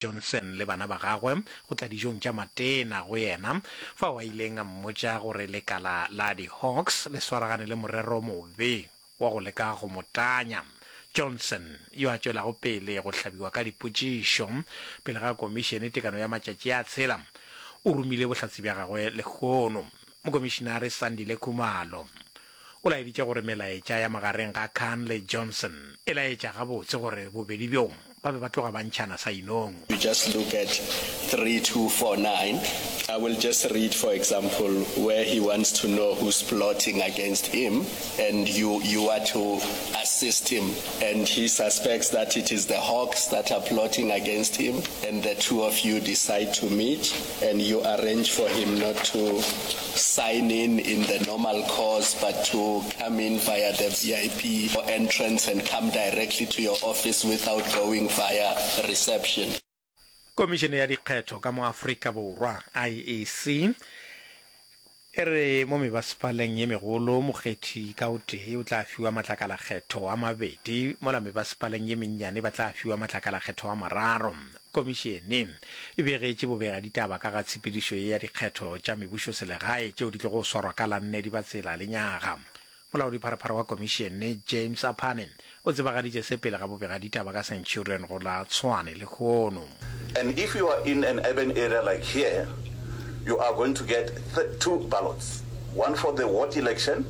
Johnson le bana ba gagwe go tla dijong tša matena go yena, fao a ileng a mmotša gore lekala la di-Hawks le swaragane le morero o mobe wa go leka go mo tanya. Johnson, yo a tšwelago pele go hlabiwa ka dipotšišo pele ga komišene tekano ya matšatši a tshela, o romile bohlatse bja gagwe lehono. Mokomišinare Sandile Khumalo o laeditše gore melaetša ya magareng ga Khan le Johnson e laetša gabotse gore bobedi bjo ba be ba tloga ba ntšhana sa inong. You just look at 3249, I will just read for example where he wants to know who's plotting against him and you you are to assist him and he suspects that it is the hawks that are plotting against him and the two of you decide to meet and you arrange for him not to sign in in the normal course but to come in via the VIP entrance and come directly to your office without going via reception. Komišene ya Dikgetho ka mo Afrika Borwa, IEC, e re mo mebasepaleng ye megolo mokgethi ka o tee o tla fiwa matlakalakgetho a mabedi mola mebasepaleng ye mennyane ba tla fiwa matlakalakgetho a mararo. Komišene e begetše bobegaditaba ka ga tshepedišo ye ya dikgetho tša mebušoselegae tšeo di tlogo swarwa ka la nne Dibatsela lenyaga. Molaodipharephare wa komišene, James Aphane, o tsebagaditše se pele ga bobegaditaba ka Centurion go la Tshwane lehono. And if you are in an urban area like here, you are going to get two ballots, one for the ward election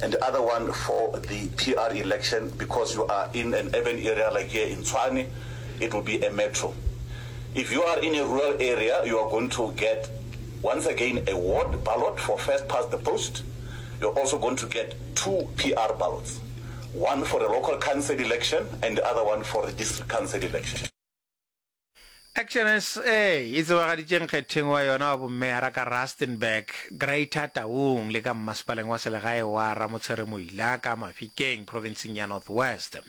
and the other one for the PR election because you are in an urban area like here in Tshwane, it will be a metro. If you are in a rural area, you are going to get once again a ward ballot for first past the post. You're also going to get two PR ballots, one for the local council election and the other one for the district council election. Action SA e tsebagaditše nkgetheng wa yona wa bommeyara ka Rustenburg, Greater Taung le ka mmasepaleng wa selegae wa Ramotshere Moila ka Mafikeng profenseng ya North West.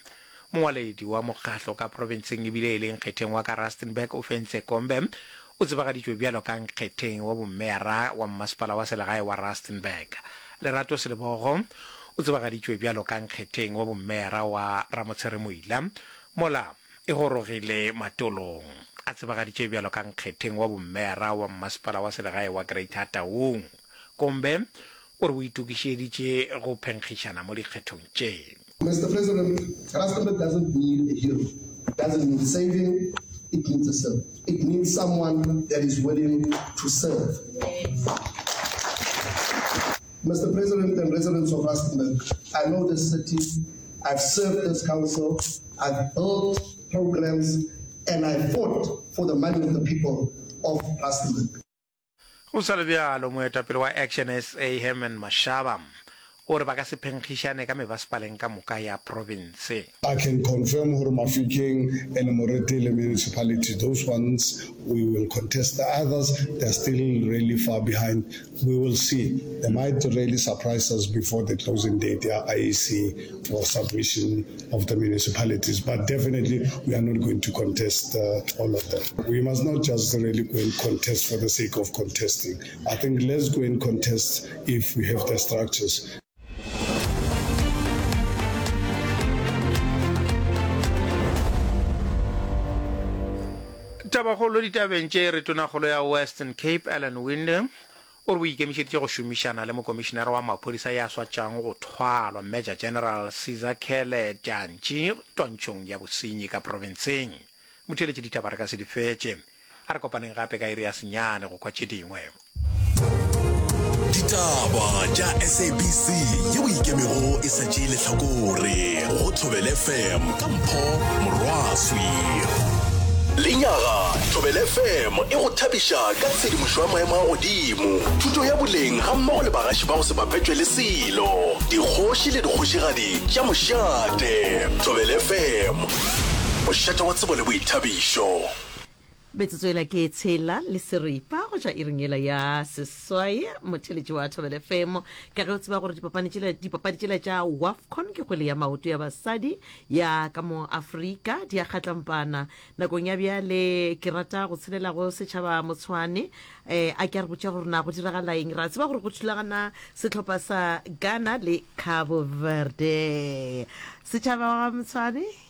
Mongwaledi wa mokgahlo ka profenseng ebile e le nkgetheng wa ka Rustenburg Ofentse Kombe o tsebagaditšwe bjalo ka nkgetheng wa bommeyara wa mmasepala wa selegae wa Rustenburg. Lerato Selebogo o tsebagaditšwe bjalo ka nkgetheng wa bommeyara wa Ramotshere Moila mola e gorogile Matolong a tsebagaditše bjalo ka nkgetheng wa bommeyara wa mmasepala wa selegae wa Greater Taung. Kombe o re o itokišeditše go phenkgišana mo dikgethong tše. Mister President, Rustenburg doesn't need a hero, it doesn't need saving, it needs a servant. It needs someone that is willing to serve. Mister President and residents of Rustenburg, I know this city, I've served this council, I've built programs and I fought for the money of the people of Rustenburg. Go sa le bjalo, moetapele wa Action SA Herman Mashaba o re ba ka se phenkgišane ka mebasepaleng ka moka ya profense. I can confirm gore Mafikeng and Moretele municipality those ones we will contest the others they are still really far behind we will see they might really surprise us before the closing date ya IEC for submission of the municipalities but definitely we are not going to contest uh, all of them we must not just really go and contest for the sake of contesting i think let's go and contest if we have the structures Tabakgolo ditabeng tše re tonakgolo ya Western Cape Alan Winde O re o ikemišeditše go šomišana le Mokomišinara wa Maphodisa ya swa tšwago go thwalwa, Major General Sizakhele Dyantyi twantšhong ya bosenyi ka profenseng. Motheeletši ditaba re ka se di fetše. A re kopaneng gape ka iri ya senyane go kwa tše dingwe. Ditaba tša SABC yeo e ikemego e sa tšee lehlakore go Thobela FM ka Mpho Morwaswi. Lenyaga, Thobela FM e go thabiša ka tshedimošo ya maemo a godimo, thuto ya boleng gammogo le bagaši ba go se bapetšwe le selo, dikgoši le dikgošigadi tša mošate. Thobela FM, mošate wa tsebo le boithabišo. Metsotso yela ke tshela le seripa go tšwa iring yela ya seswai motheletši wa Thobela FM ka ge o tseba gore dipapadi tšela dipapadi tšela tša WAFCON ke kgwele ya maoto ya basadi ya ka mo Afrika di a kgatlampana Nakong ya bjale ke rata go tshelela go setšhaba Motshwane eh, a ke a re botša gore na go diragala eng. Ra tseba gore go thulagana sehlopha sa Ghana le Cabo Verde. Setšhaba wa Motshwane.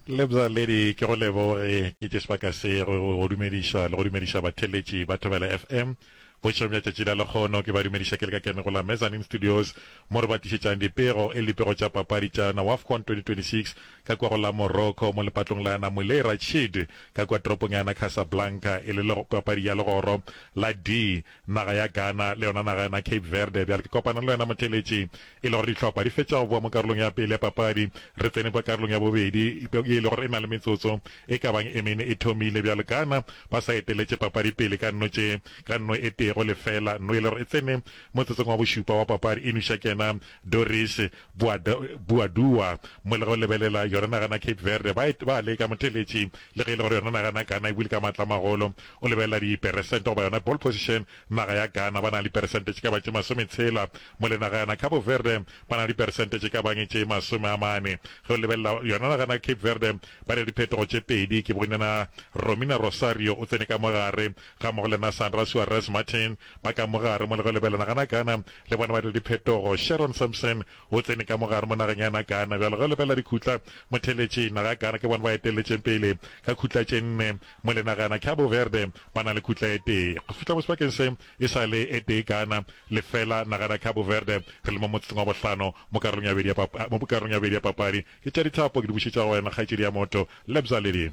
Lebza Lady, ke go leboge ke tše sebaka se go go dumediša le go dumediša batheeletši ba Thobela FM bošegong bja tšatši la lekgono. Ke ba dumediša ke le ka kene go la Mezzanine Studios mo re ba tlišetšang dipego e le dipego tša papadi tša na WAFCON 2026 ka kua go la Morocco mo lepatlong la na Moulay Rachid ka kua toropong ya na Casablanca e le papadi ya legoro la D naga ya Ghana le yona naga ya na Cape Verde. Bjale ke kopana le wena motheeletši e le gore dihlopha di fetša go boa mo karolong ya pele ya papadi, re tsene kwa karolong ya bobedi ye e le gore e na le metsotso e ka bang e mene e thomile. Bjale Ghana ba sa eteletše papadi pele ka nno tše ka nno e tee go lefela, nno e le gore e tsene motsotsong wa bošupa wa papadi e nweša kena Doris Boadua. Mo le go lebelela yona naga na Cape Verde ba ba leka motheeletši le ge e le gore yona naga na Ghana e buile ka maatla a magolo. O lebelela diperesente goba yona ball position, naga ya Ghana ba na le diperesente tše ka bang tše masometshela, mo le naga yana Cabo Verde ba na le diperesente tše ka bang tše 40. Ge o lebelela yona naga na Cape Verde ba na le diphetogo tše pedi, ke bone na Romina Rosario o tsene ka mo gare ga mmogo le na Sandra Suarez Martin ba ka mo gare, mo le ge o lebelela naga na Ghana le bona ba na le diphetogo, Sharon Sampson O tsene ka mo gare mo nageng ya na Ghana. Bjalo ge o lebelela dikhutla motheletši, naga ya Ghana ke bona ba eteletšeng pele ka khutla tše nne, mo le naga ya na Cabo Verde ba na le khutla e tee. Go fihla mo sebakeng se e sa le e tee Ghana, lefela naga ya na Cabo Verde. Re le mo motsotsong wa bohlano mo karolong ya bobedi ya mo karolong ya bobedi ya papadi. Ke tša dithapo ke di bušetša go wena kgaetšedi ya motho, Lebza Lady.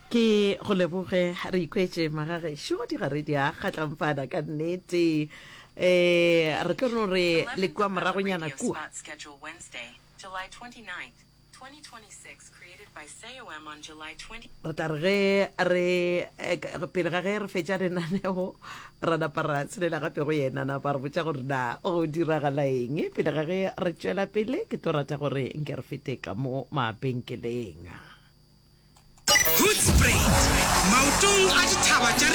Ke go leboge, re ikwetše magagešo digare di a kgatlampana ka nnete. Eh, re tlo no re le kua moragonyana kua. Re tla re ge re eh, pele ga ge re fetša lenaneo ra napa ra tshelela gape go yena napa re botša gore na go diragala eng pele ga ge re tšwela pele ke tlo rata gore nke re fete ka mo mabenkeleng. Hoedspruit, maotong a dithaba tša.